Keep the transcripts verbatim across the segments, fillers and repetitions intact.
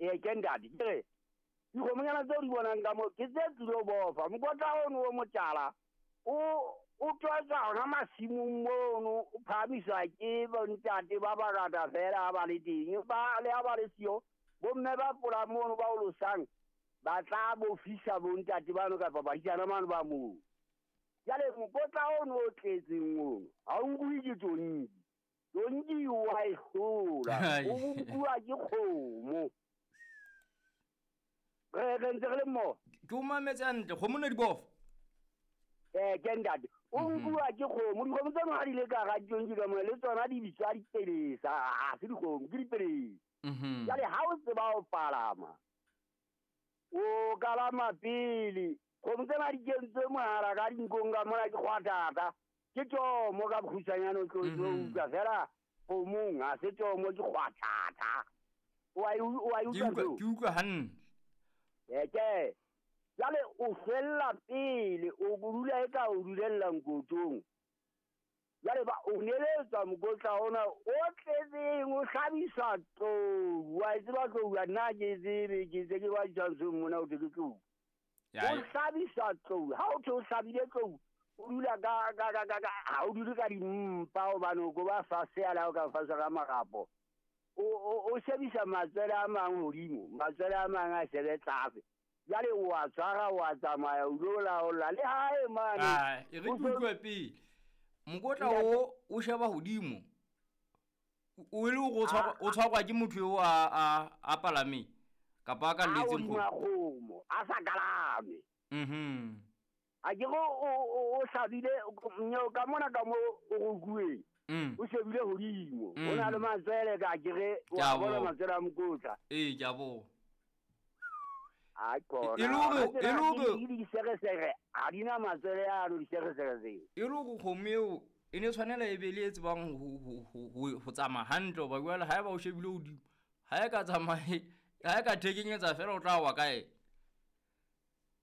Ee ke ntate ke re dikgomonyana tseo di bonang ka moo ke tse tlilo bofa mokotla ono o motala o o tswa hona masimong mono o phahamiswa ke bontate ba bangata fela ha ba le teng ba le ha ba le siyo bomme ba pola mono ba o losang ba tla bofisa bontate bano kapa badisana mano ba moo. Jwale mokotla ono o tletseng ono ha o nkuwe ke tonki, tonki wa e hlola, o nkuwa ke kgomo. Re re ntse re le mmoho. Ke o mametse hantle, kgomo ne di bofa. Eh ke ntate o nkuwa ke kgomo, dikgomo tseno ha di le ka hara ditonki ka mona le tsona di bitswa dipelesa, ha se dikgomo ke dipelesa. Jwale ha o tseba ho palama o kalama pele, kgomo tsena di kentswe mohala ka dinkong ka mona ke kgwatata, ke tsomo ka bokgutshwanyane o tlo utlwa fela kgomong ha se tsomo ke kgwatata. O a e utlwa ke utlwa hantle. Eh ke jwale o fella pele o dula e ka o dulella nkotong. Jwale ba o neletswa mokotla ona o tletseng o hlabiswa tlou, wa e tseba tlou nna ke tsebe ke tse ke ba ditshwantshong mona o thwe ke tlou. O hlabiswa tlou, ha o thwe o hlabile tlou o dula ka ka ka ka ha o dule ka dimpa hobane o ko ba fatshe a la o ka fatshe ka marapo. O o shebisa matswele a mang hodimo, matswele a mang a shebe tlase. Jwale o a tshwara o a tsamaya o lo laola le hae mane. Ah, e re ke utlwe pele. Mokotla o o sheba hodimo. O le o tshwarwa o tshwarwa ke motho eo a a a palameng kapa a ka letseng kgomo, a sa kalame. Mhm. A ke go o o hlabile ka mona ka mo o rukueng. O shebile hodimo, o na le matswele ka ke re wa bona matswele a mokotla. Ee ke a bona. A kona. E le hore e le hore diseresere ha di na matswele ano diseresere tseo. E le hore kgomo eo e ne tshwanela e be le e tsebang ho ho ho ho tsamaya hantle hoba jwale ha eba o shebile hodimo ha e ka tsamaye ha e ka thekenyetsa fela o tla wa kae.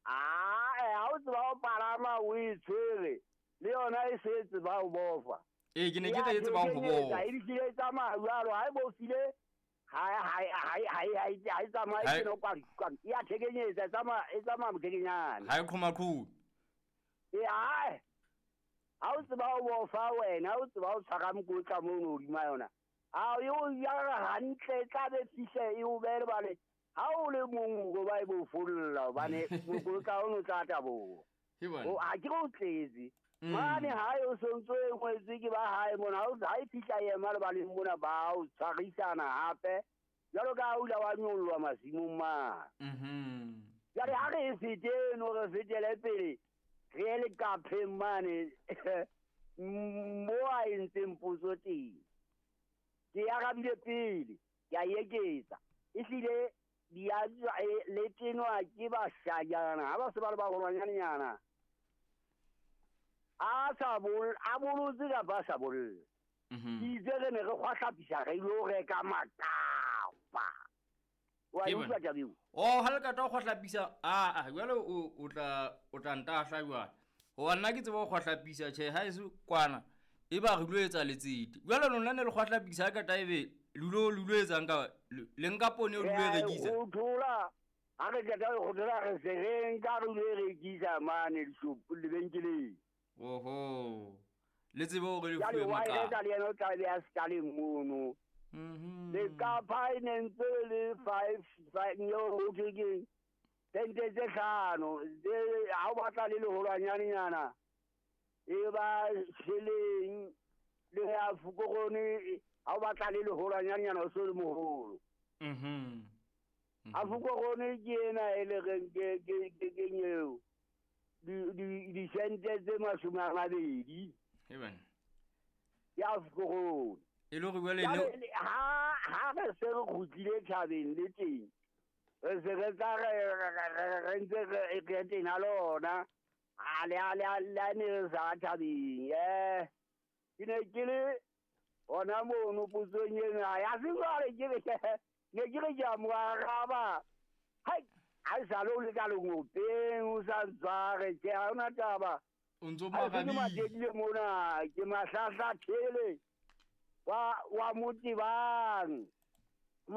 Ah, ha o tseba ho palama o e tshwere le yona e se tseba ho bofa. Ee ke ne ke tla e tsebang ho bofa. E hlile e tsamaya jwalo ha e bofile ha ha ha ha ha e tsamaye ke no kwa kwa ya thekenyetsa e tsamaya e tsamaya mothekenyane. Ha e qhoma-qhome. Ee ha ha o tseba ho bofa wena, ha o tseba ho tshwara mokotla mono hodima yona. A o ya hantle e tla be fihle e o behe bale ha o le mong o ba e bofolla hobane mokotla ono tla taboha. O a ke o tletse. Mane ha o sontso e ngwetswe ke ba hae mona ha e fihla ema le baleng mona ba o tshwarisana hape jwalo ka ha o ile wa nyollwa masimong mane. Mhm. Jwale ha re e fete eno re fetele pele re ye lekapheng mane mo a entseng potso teng. Ke arabile pele ke a eketsa ehlile di a le tenwa ke bashanyana ha ba se ba le baholwanyanenyana. A sa bol a bolotse kapa a sa bolle. Ke itse re ne re kgwahlapisa re ilo reka makapa. Wa e utlwa taba eo? Oh, ha le ka tla kgwahlapisa a a jwale o o tla o tla ntahla jwale. Hoba nna ke tseba ho kgwahlapisa tjhe ha e se kwana e ba re lo etsa letsete. Jwale lona ne le kgwahlapisa ka taebe le lo le lo etsang ka le nka poone o lo e rekisa. O thola ha re qeta ho thola re se re nka re lo e rekisa mane dishopo lebenkeleng. Oho. Le tsebe hore le fuwe makapa. Jwale wa e le yena o tla be a sekaleng mono. Mhm. Lekapa e ne ntse le five five nyo ho thwe keng sente tse hlano ha o batla le leholwanyanenyana e ba sheleng le ya fokorone ha o batla le leholwanyanenyana o so le moholo. Mhm. A fokorone ke ena e le reng ke ke ke nyeo di di di sente tse mashome a mabedi. Eben. Ya fokorone. E le hore jwale ne ha ha re se re kgutlile thabeng le teng re se re tla re re ntse re re tena lona a le a le a le ne re sa thabeng eh ke ne ke le hona mono potsong ena ya se jwale ke re ne ke re ke a mo araba hai ha e sale o le ka lengopeng o sa ntshware ke ha hona taba o ntso marabile matekile mona ke mahlahlathele wa wa motebang.